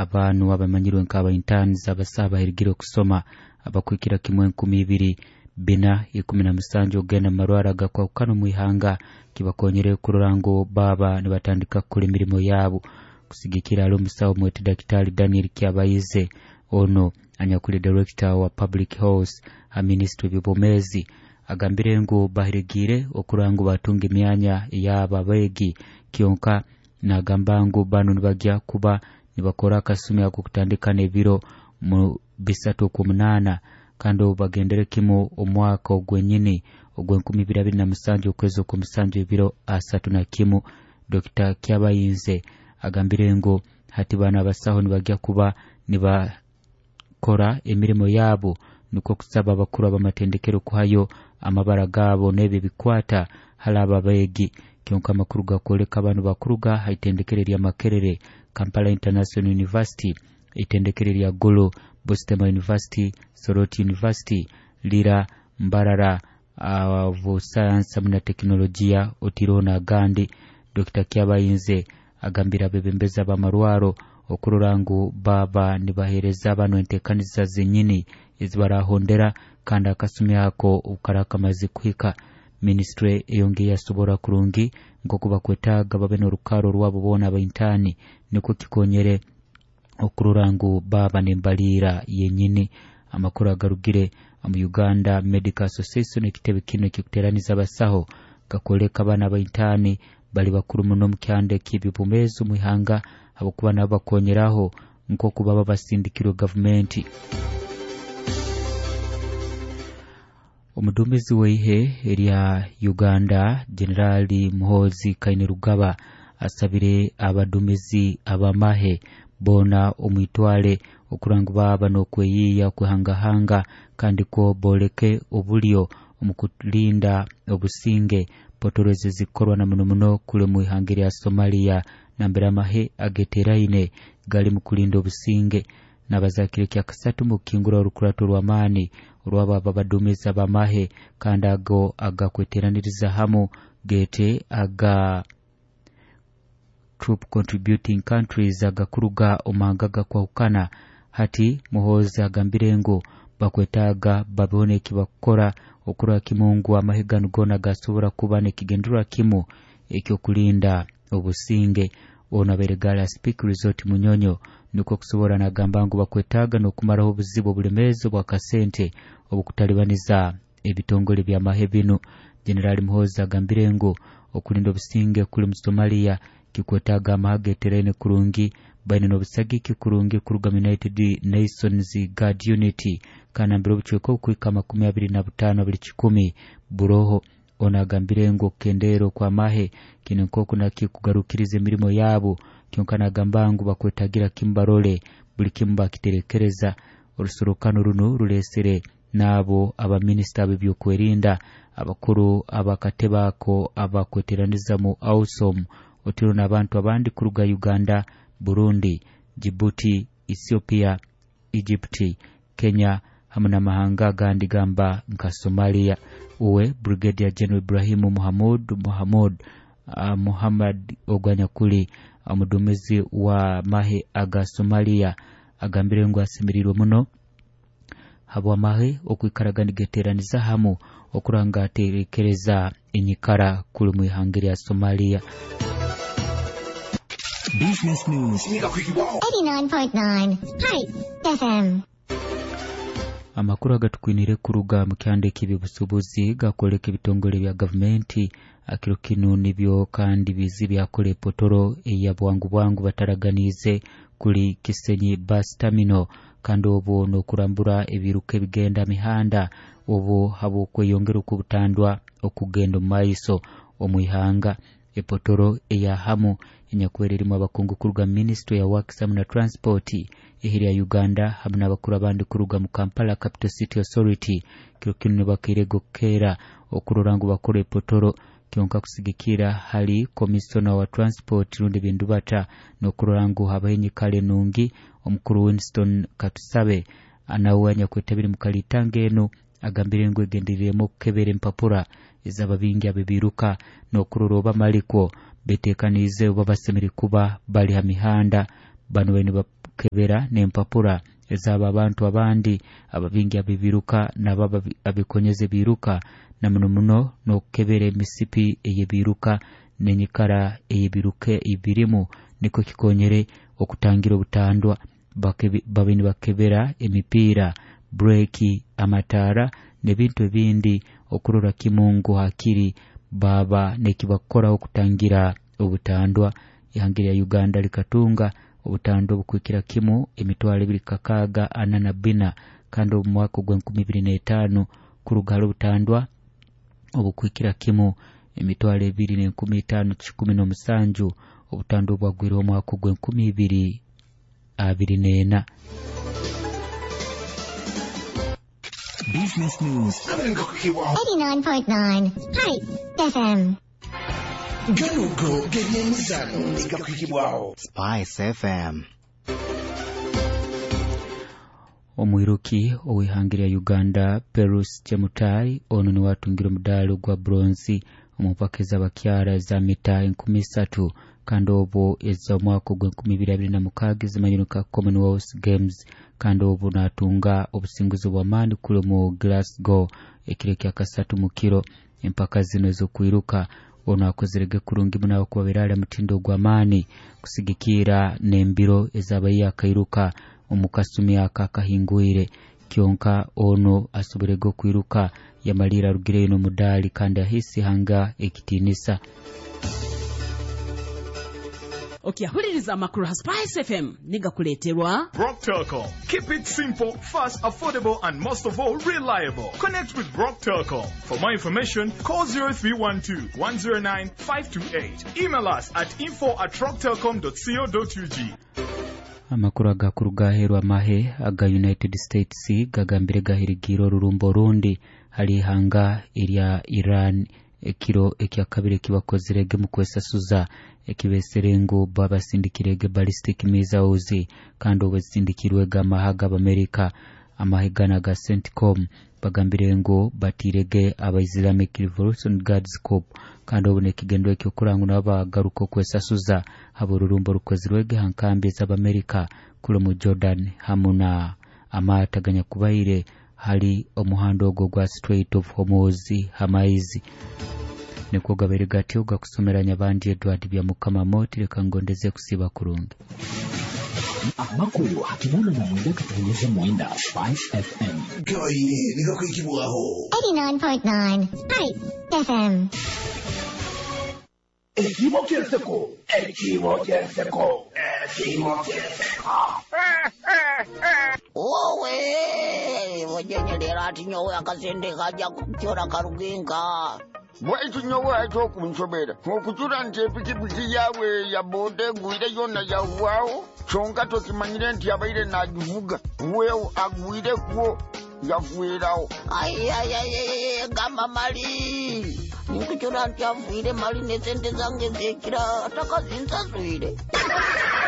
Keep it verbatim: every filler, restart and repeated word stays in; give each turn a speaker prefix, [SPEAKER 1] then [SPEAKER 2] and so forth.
[SPEAKER 1] Abantu abamanyirwe nk'aba interns, abasaha bahirigire okusoma abakwikira kimwe enkumi ibiri bina ikumi na musanju okugenda mu marwaro agakwahukana omu ihanga kibakonyere kurora ngu baba nibatandika kukora emirimo yabo. Kusigikira ali omusawo mwete Daktari Daniel Kyabayize, ono anyakuli director wa public health ha ministry eby'obwomeezi, agambire ngu bahirigiire okurora ngu batunga emyanya ey'abo abeegi, kyonka nagamba ngu banu nibagya kuba nibakora akasumi ak'okutandika n'ebiro mu bisatu okw'omunaana, kandi obu bagendere kimu omwaka ogwenyini ogw'enkumi ibiri abiri na musanju okwezi okw'omusanju ebiro asatu na kimu. Dokita Kyabayinze agambire ngu hati bano abasaho nibagya kuba nibakora emirimo yabo, nukwo kusaba abakuru ab'amatendekero kuhayo amabara gaabo n'ebyo ebikwata hali abo abeegi. Kyonka amakuru gakwoleka bano bakuruga ha itendekero erya Makerere, Kampala International University, itendekero erya Gulu, Busitema University, Soroti University, Lira, Mbarara uh, Science hamwe na Tekinologiya, otiireho n'agandi. Dokita Kyabayinze agambire abebembezi ab'amarwaro okurora ngu baba nibaheereza bano enteekaniza zenyini ezibarahondera, kandi akasumi ako obukara kamaze kuhika minisitule eyongeye yasobora kurungi nk'oku bakwetaaga babe n'orukaro rwabo boona abaintaani, nikwo kikonyere okurora ngu baba n'embaliira yenyini. Amakuru agarugire omu Uganda Medical Association, ekitebe kinu ekikuteraniza abasaho, gakwoleka abaana abaintaani bali bakuru muno omu kyanda eky'eby'obwomeezi omu ihanga, habwokuba nabo bakonyeraho nk'oku baba basindikirwe gavumenti. Omuduumizi w'eihe erya Uganda Jenerali Muhoozi Kainerugaba asabire abaduumizi ab'amahe boona omwitwale okurora ngu baba n'okweyiiya okwehangahanga, kandi kwo booleke obulyo omu kulinda obusinge potoro ezi zikorwa na muno muno kuli omu ihanga erya Somalia, nambere amahe ageteraine gali mu kulinda obusinge. Nabazakire kyakasatu mu kukingura orukurato rw'amaani orwabo abaduumizi ab'amahe, kandi ago agakweteraniriza hamu gete aga troop contributing countries agakuruga omanga gakwahukana. Hati Muhoozi agambire ngu bakwetaaga babeho n'ekibakukora okurora kimu ngu amahe ganu goona gasobora kuba n'ekigendererwa kimu ekyokulinda obusinge. Ono abaire Gala Speke Resort Munyonyo, nukwo kusobora nagamba ngu bakwetaaga n'okumaraho obuzibu obulemeezi obw'akasente obukutalibaniza ebitongole by'amahe binu. Jenerali Muhoozi agambire ngu okulinda obusinge kuli mu Somalia kikwetaaga amahe ageteraine kurungi, baine n'obusagiki kurungi kuruga mu United Nations Guard Unit, kandi nambere obucweka obukuhika amakumi abiri na butaano buli kikumi buroho. Ono agambire ngu okukendeera okw'amahe kinu nk'oku nakikugarukiriza emirimo yabo, kyonka nagamba ngu bakwetagira kimu barole buli kimu bakiterekereza. Orusorokano runu rulesere n'abo abaminisita b'ebyokwerinda, abakuru abakatebe ako abakweteraniza mu AUSOM, otiro n'abantu abandi kuruga Uganda, Burundi, Djibouti, Ethiopia, Egypt, Kenya hamwe n'amahanga agandi gamba nka Somalia. Uwe Brigadier General Ibrahimu Muhammad Muhammad uh, Muhammad Ogwanyakuli omuduumizi wa mahe aga Somalia agambire ngu asemeriirwe muno habw'amahe okwikaraga nigeteraniza hamu okuranga aterekereza enyikara kuli mu ihanga lya Somalia.
[SPEAKER 2] Business News
[SPEAKER 3] eighty-nine point nine Hype F M.
[SPEAKER 1] Amakuru agatukwinire kuruga mu kyanda eky'ebyobusuubuzi gakwoleka ebitongole bya gavumenti akiro kinu nibyo kandi bizi byakola epotoro eya bwangu bwangu bataraganiize kuli Kisenyi Bus Terminal, kandi obwo n'okurambura ebiruka ebigenda mihanda obwo habw'okweyongera okw'obutandwa okugenda omu maiso omu ihanga. Epotoro eya hamu enyakwera erimu abakungu kuruga ministry ya Works hamwe na Transport eheri ya Uganda hamwe n'abakuru abandi kuruga mu Kampala Capital City Authority kiro kinu nibakeire gokeera okurora ngu bakora epotoro, kyonka kusigikira hali Commissioner wa Transport rundi bindu bata n'okurora ngu habaho enyikara enungi. Omukuru Winston Katusabe nawe anyakwetabire mu kalitanga enu agambire ngu egendereiremu okukebera empapura ez'ababingi abebiruka n'okurora oba malikwo beteekaniize oba basemere kuba bali ha mihanda. Bano bali n'okukebera n'empapura ezaba abantu abandi ababingi abibiruka nabo abikonyeze biruka na muno muno n'okukebera emisipi eyebiruka n'enyikara eyebiruka ebirimu niko kikonyere okutangira obutandwa. Babe nibakebera emipiira, breki, amataara n'ebintu ebindi okurora kimungu hakiri baba nekibakoraho okutangira obutandwa. Ihanga lya Uganda likatunga obutandwa obukwikira kimu emitwalo ebiri kakaaga ana na bina kandi omu mwaka ogw'enkumi ibiri n'etaano kuruga hali obutandwa obukwikira kimu emitwalo ebiri n'enkumi itaano kikumi n'omusanju obutandwa obwagwire omwaka ogw'enkumi ibiri abiri n'ena.
[SPEAKER 2] Business News
[SPEAKER 3] eighty-nine point nine Spice F M.
[SPEAKER 2] Ganugo g'ebyemizano gakwikibwaho
[SPEAKER 4] Spice F M.
[SPEAKER 1] Omwiruki ow'ihanga lya Uganda Perus Chemutai ono niwe atungire omudaali gwa bronze omu mpaka ez'abakyara eza mita enkumi isatu kandi obwo ez'omwaka ogw'enkumi ibiri abiri na mukaaga ezimanyirwe nka Commonwealth Games kandi obwo natunga obusinguzi bw'amaani kuli mu Glasgow ekiro ekya kasatu mu kiro. Empaka zino ez'okwiruka ono akozerege kurungi muno okubabeera ali mutindo gw'amaani kusigikira n'embiro ezabaye akairuka omu kasumi aka akahingwire. Kyonka ono asoborege okwiruka yamalira arugireyo n'omudaali kandi ahisi hanga ekitiinisa.
[SPEAKER 5] Okyahuliriza amakuru ha Spice F M nigakuleeterwa
[SPEAKER 6] Brock Telcom. Keep it simple, fast, affordable and most of all reliable. Connect with Brock Telcom. For more information, call zero three one two, one zero nine, five two eight. Email us at info at rocktelcom dot co dot U G.
[SPEAKER 1] Amakuru agakuru gaherwa amahe aga United States gagambire gahirigira orurumbo rundi hali ihanga erya Iran ekiro ekyakabiri ekibakozirege mu kwesasuza ekibesere ngu babasindikirege ballistic missiles kandi obwo zisindikirwege amahe g'Abamerika. Amahe gana ga CENTCOM bagambire ngu batirege aba Islamic Revolution Guards Corps kandi obwo nekigendo ekyokuranga nabo bagaruka okwesasuza haba orurumbo rukozirwege ha nkambi ez'Abamerika kuli mu Jordan hamu na amaato aganyakubaire hali omuhanda ogwo gwa Strait of Hormuz hamaizi. Nikwo gabaire gatyo gakusomera Nyabandi Edward Byamukama Moti. Leka ngondeze kusiba kurungi.
[SPEAKER 2] Amakuru hakimuna na mwenda katuonyesha mwenda Spice F M.
[SPEAKER 7] Gaire nigakwikibwaho
[SPEAKER 3] eighty-nine point nine Spice F M.
[SPEAKER 7] Ekimo kyenseko, ekimo kyenseko, ekimo kyenseko.
[SPEAKER 8] Wowe, wajenyelera ati nyowe akasente kajja kukyora karugenka.
[SPEAKER 9] Bwaitu nyowe ekyokunsobera okujula nti epikipiki yaabwe ya boda egwire yonna yawaawo kyonka tokimanyire nti abaire n'agivuga weewo agwirekwo yagwerawo.
[SPEAKER 8] Ayayayaya gamba mali nikukyora nti afiire mali nesente zange zekira atakazinsaswire.